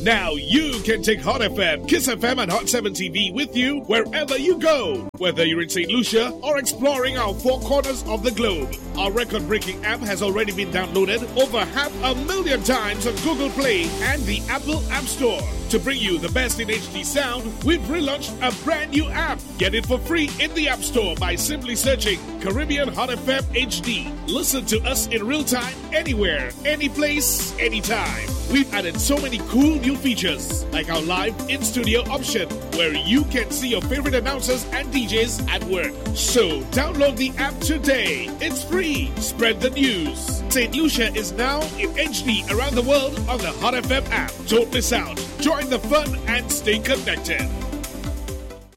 Now you can take Hot FM, Kiss FM, and Hot 7 TV with you wherever you go. Whether you're in St. Lucia or exploring our four corners of the globe. Our record breaking app has already been downloaded over 500,000 times on Google Play and the Apple App Store. To bring you the best in HD sound, we've relaunched a brand new app. Get it for free in the App Store by simply searching Caribbean Hot FM HD. Listen to us in real time, anywhere, any place, anytime. We've added so many cool new features, like our live in studio option, where you can see your favorite announcers and DJs at work. So download the app today. It's free. Spread the news. St. Lucia is now in HD around the world on the Hot FM app. Don't miss out. Join the fun and stay connected.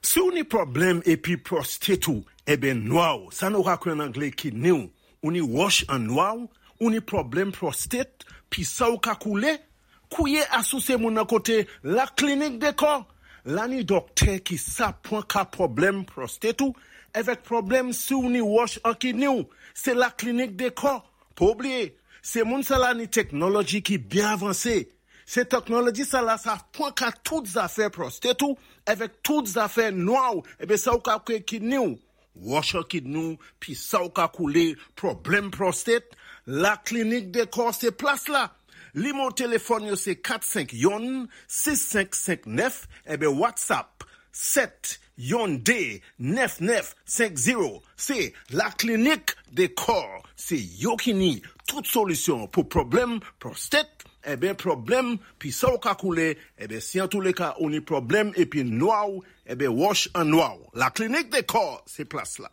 Si ou ni pwoblèm épi prostate ou, ében nwa-ou, sa nou ka kwé an anglé kidney ou, ou ni wòch an nwa-ou, ou ni pwoblèm prostate, pi sa ou ka koulé, kouwé asou sé moun nan koté La Clinique Décor. La ni dòktè ki sa pwan ka pwoblèm prostate ou, avèk pwoblèm si ou ni wòch an kidney ou, sé La Clinique Décor. Pa oubliyé, sé moun sa la ni teknoloji ki byen avansé. Sé teknoloji sa la sa pwan ka tout zafè prostate ou, avèk tout zafè nwa ou, ében sa ou ka kwé kidney ou. Wòch an kidney ou, pi sa ou ka koulé, pwoblèm prostate, La Clinique Décor sé plas la. Nimewo téléfòn yo sé 451 6559 ében WhatsApp 7 yon 2 9950. Sé La Clinique Décor. Sé yo ki ni tout solisyon pou pwoblèm prostate, ében pwoblèm pi sa ou ka koulé, ében si an tou lé ka ou ni pwoblèm épi nwa ou, ében wòch an nwa ou. La Clinique Décor, sé plas la.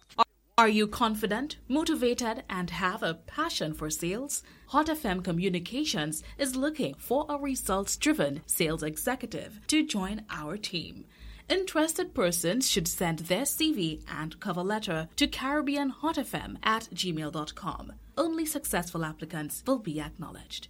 Are you confident, motivated, and have a passion for sales? Hot FM Communications is looking for a results driven sales executive to join our team. Interested persons should send their CV and cover letter to CaribbeanHotFM@gmail.com. Only successful applicants will be acknowledged.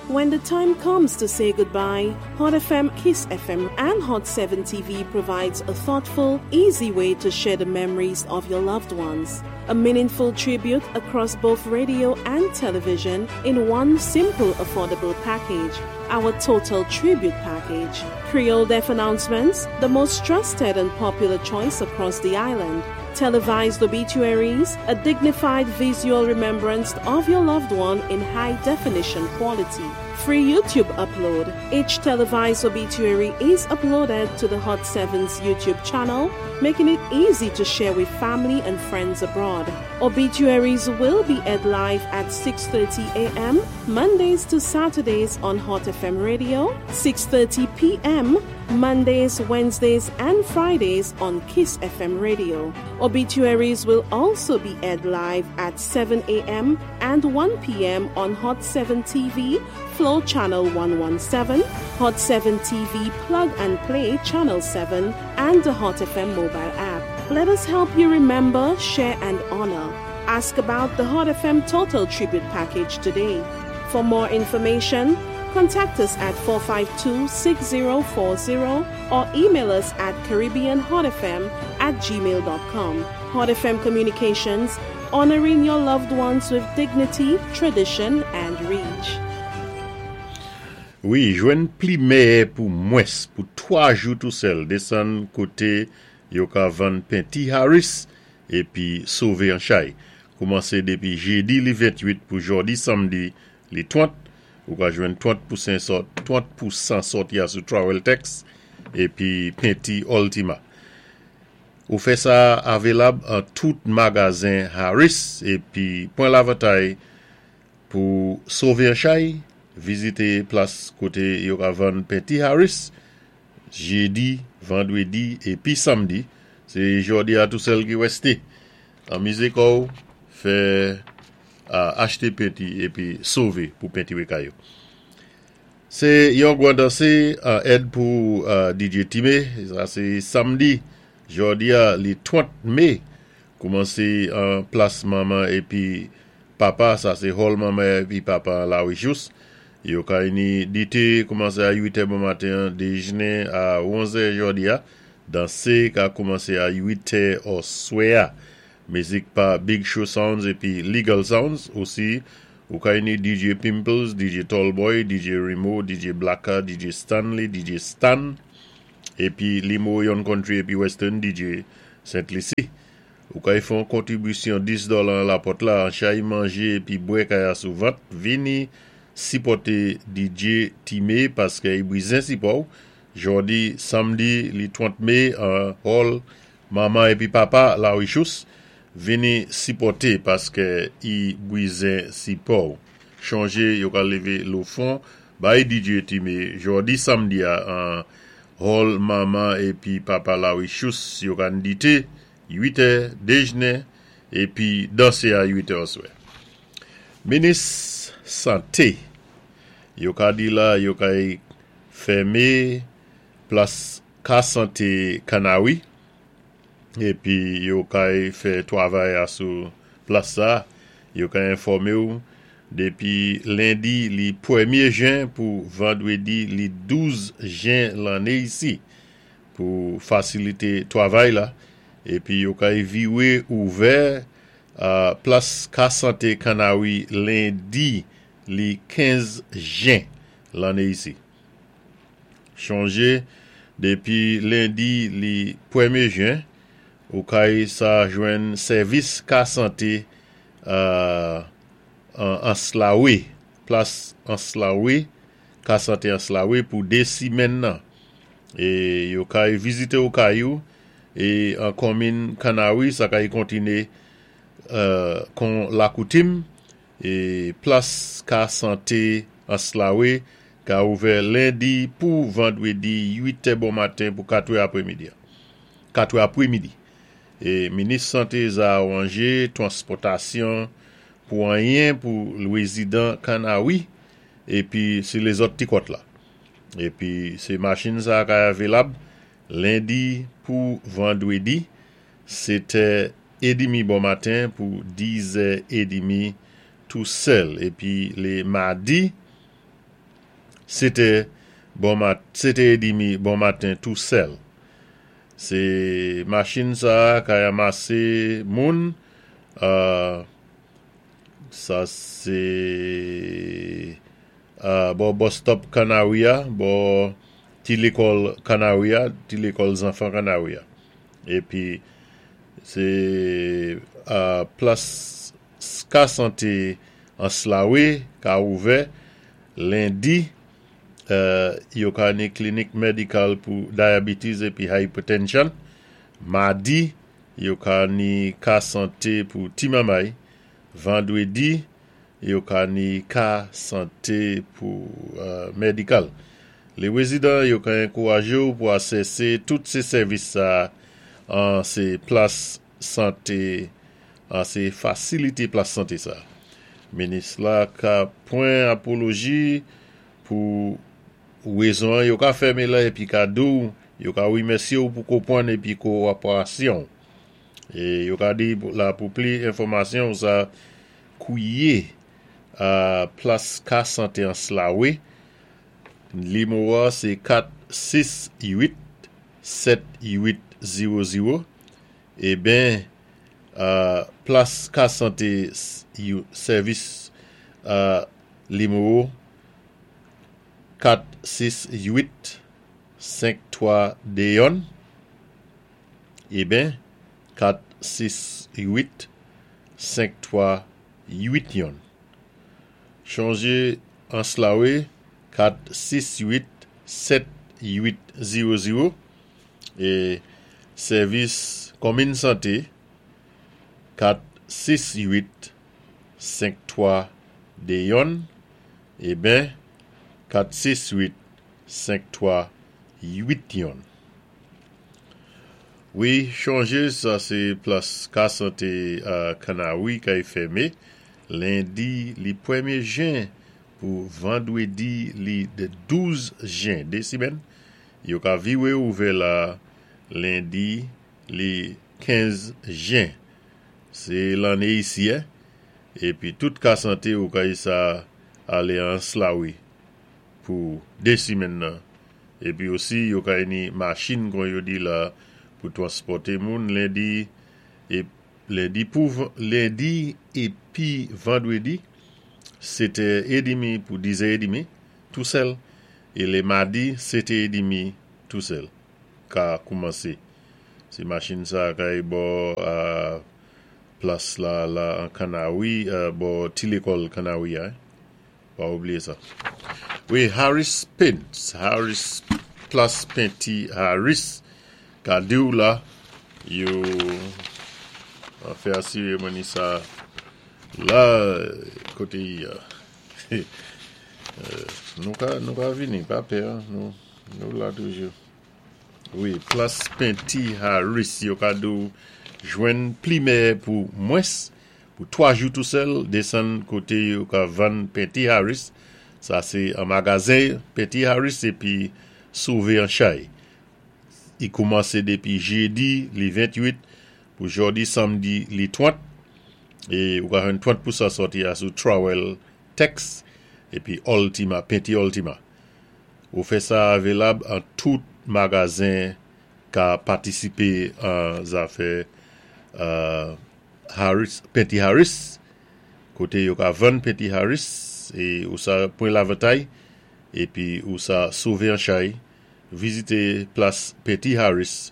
When the time comes to say goodbye, Hot FM, Kiss FM, and Hot 7 TV provides a thoughtful, easy way to share the memories of your loved ones. A meaningful tribute across both radio and television in one simple, affordable package. Our Total Tribute Package. Creole Death Announcements, the most trusted and popular choice across the island. Televised obituaries, a dignified visual remembrance of your loved one in high definition quality. Free YouTube upload. Each televised obituary is uploaded to the Hot 7's YouTube channel, making it easy to share with family and friends abroad. Obituaries will be aired live at 6:30 a.m. Mondays to Saturdays on Hot FM Radio, 6:30 p.m. Mondays, Wednesdays, and Fridays on Kiss FM Radio. Obituaries will also be aired live at 7 a.m. and 1 p.m. on Hot 7 TV, Flow Channel 117, Hot 7 TV Plug and Play Channel 7, and the Hot FM mobile app. Let us help you remember, share, and honor. Ask about the Hot FM Total Tribute Package today. For more information, contact us at 452 6040 or email us at CaribbeanHotFM@gmail.com. Hot FM Communications, honoring your loved ones with dignity, tradition, and reach. Wi, jwenn pli mèyè pou mwens pou 3 jou tou sèl desann koté yo ka vann penti Harris épi sové an chay. Koumansé dépi jédi li 28 pou jòdi samdi li 30, ou ka jwenn 30 pousen sò 30 pousan sòti a sou Trowel Tex épi penti Ultima. Ou fè sa avelab an tout magazen Harris épi pwan lavantay pou sové an chay, vizité plas koté yo ka vann penti Harris jédi, vandwédi épi samdi. Sé jòdi a tou sèl ki wèsté. Anmizé kò-w, fè achté penti épi sové pou pentire kay ou. Sé yon gwan dansé an èd pou DJ Time, sa sé samdi, jòdi a li 30 mé, koumansé an plas manman épi papa, sa sé hall manman épi papa an Lawijous. Yo ka ini dité koumansé a 8 è bon maten an, déjnen a 11 è jòdi a, dansé ka koumansé a 8 è òswè a. Mizik pa Big Show Sounds épi Legal Sounds osi. Ou kay ni DJ Pimples, DJ Tallboy, DJ Remo, DJ Blacka, DJ Stanley, DJ Stan, épi limo yon country épi western DJ Saint Lucie. Ou kay fè yon kontribisyon 10 dola an lapòt la, an chay manjé épi bwè kay asou vant, vini sipòté DJ Time paské i bizen sipò ou. Jòdi, samdi li 30 mé an hall Manman épi Papa La Richous, vini sipòté paské i bizen sipò ou. Chonjé yo ka lévé lo fon bay DJ Time jòdi samdi a an hall Manman épi Papa La Richous yo ka ndité 8 è déjnen épi dansé a 8 è oswè. Minis santé yo ka di la yo kay fèmé plas ka santé Kanawi épi yo kay fè twavay a sou plas sa yo ka enfòmé ou dépi lendi li pwèmyé jen pou vandwédi li 12 jen lanné isi pou fasilité twavay la épi yo kay viwé ouvè plas ka santé Kanawi lendi li 15 jen lanné isi. Chonjé dépi lendi li pwèmyé jen ou kay sa jwenn sèvis ka santé an Anslawe, plas Anslawe, ka santé Anslawe pou 2 simèn nan. É yo kay vizité ou kay ou é an konmin Kanawi sa kay kontiné kon lakoutim é plas ka santé Anslawe ka ouvè lendi pou vandwédi 8 è bon maten pou 4 è aprèmidi. 4 è aprèmidi. É minis santé za awanjé twanspòtasyon pou anyen pou rézidan Kanawi épi si lézòt ti kòt la. Épi sé machin sa kay avilab lendi pou vandwédi 7 è édimi bon maten pou 10 è édimi tou sèl épi lé madi 7 è bon mat 7 è édimi bon maten tou sèl. Sé machin sa kay amasé moun sa sé bò bus stop Kanawi a, bò ti lékòl Kanawi a, ti lékòl zanfan Kanawi a. Épi sé plas ka santé Anslawe ka ouvè lendi yo ka ni klinik medikal pou diabetes épi hypertension. Madi yo ka ni ka santé pou ti mamay. Vandwédi yo ka ni ka santé pou medikal. Lé wézidan yo ka ankourajé ou pou asèsé tout sé sèvis sa an sé plas santé an sé fasilité plas santé sa. Minis la ka pwan apoloji pou wézon an yo ka fèmé la épi ka di ou yo ka wimèsyé ou pou konpwann épi kowoperasyon ou. É yo ka di la pou pli enfòmasyon ou sa kwié a plas ka santé Anslawe limo a sé 4 6 8 7 8 0 0 eben plas ka santé sèvis limo 4 6 8 5 3 2 1 eben 4 6 8 5 3 8 1 Chonjé Anslawe 4 6 8 7 8 0 0 é sèvis konmin santé 4 6 8 5 3 2 1 eben 4 6 8 5 3 8 1. Wi chonjé sa sé plas ka santé Kanawi kay fèmé lendi li pwèmyé jen pou vandwédi li 12 jen 2 simèn yo ka viwé ouvè la lendi li 15 jen sé lanné isi épi tout ka santé ou kay sa alé Anslawi pou 2 simèn nan Épi osi yo kay ni machin kon yo di la pou twanspòté moun lendi é lendi pou lendi épi vandwédi. 7 è edmi pou 10 è edmi tou sèl é lé madi 7 è edmi tou sèl ka koumansé. Sé machin sa kay bò plas la la an Kanawi bò ti lékòl Kanawi a. Pa oubliyé sa. Wi, Harris Paints, Harris Plas Penti Harris ka di-w la yo fè asiré mwen ni sa la koté yi a. Nou ka nou ka vini, pa pè, nou nou la toujou. Wi, Plas Penti Harris yo ka di-w jwenn pli mèyè pou mwens Pou 3 jou tou sèl, desann koté yo ka vann pen T. Harris, sa sé an magazen pen T. Harris épi sové an chay. I koumansé dépi jédi li 28 pou jòdi samdi li 30 é ou ka jwenn 30 pousan sòti a sou Trowel Tex épi Ultima, pen T Ultima. Ofè sa avelab an tout magazen ka patisipé an zafè Harris, Penti Harris, koté yo ka vann Penti Harris é ou sa pwan lavantay épi ou sa sové an chay, vizité plas Penti Harris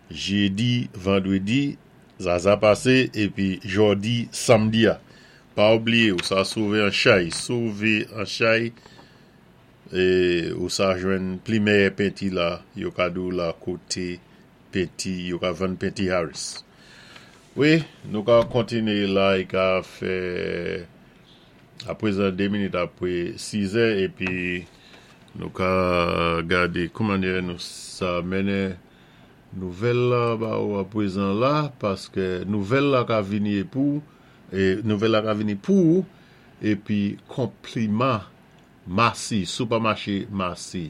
jédi, vandrédi, zaza pasé épi jòdi, samdi a. Pa oubliyé ou sa sové an chay, sové an chay é ou sa jwenn pli mèyè penti la yo ka di-w la koté Penti yo ka vann penti Harris. Wi nou ka kontinye la i ka fè aprezan 2 minit apre 6 zè epi nou ka gade kouman nou sa mennen nouvèl la ba ou aprezan la paske nouvèl la ka vini epou e nouvèl la ka vini pou ou epi konpliman Masi, Supèmache Masi.